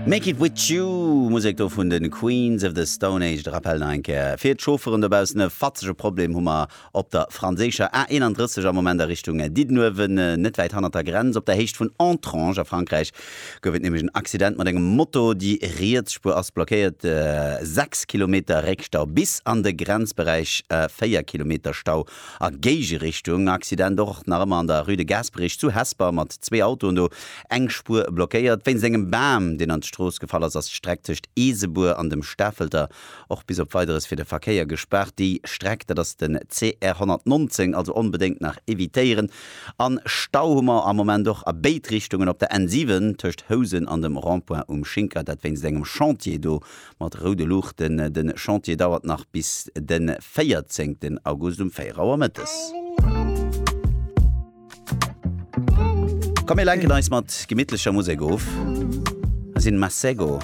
Make it with you, Musek do vun de Queens of the Stone Age. De Rappel nach eng Kéier fir d'Chaufferen dobaussen, e fatzege Problem hu mer op der franséischer A31 am Moment a Richtung Diddenuewen, net wäit hannert der Grenz, op der Héicht vun Entrange a Frankräich gouf et nämlech en Accident mat engem Moto. Déi riets Spuer ass blockéiert, 6 Kilometer Réckstau bis an de Grenzberäich, 4 Kilometer Stau A Géigerichtung, Accident och nach ëmmer an der Rue de Gasperich zu Hesper mat zwee Autoen do, eng Spuer blockéiert. Wéinst engem Bam, deen an d'Strooss gefall ass, ass d'Streck tëscht Eesebuer an dem Stafelter och bis op Weideres fir de Verkéier gespaart. Déi Streck, dat ass den CR 119, also onbedéngt nach evitéieren. An Stau hu mer am Moment och a béid Richtungen op der N7 tëscht Housen an dem Rond-point um Schinker, dat wéinst engem Chantier do Mat roude Luuchten. Den Chantier dauert nach bis den 14 August um 4 Auer mëttes. Komm mir lenken eis mat gemittlecher Musek of. Hei sinn Masego.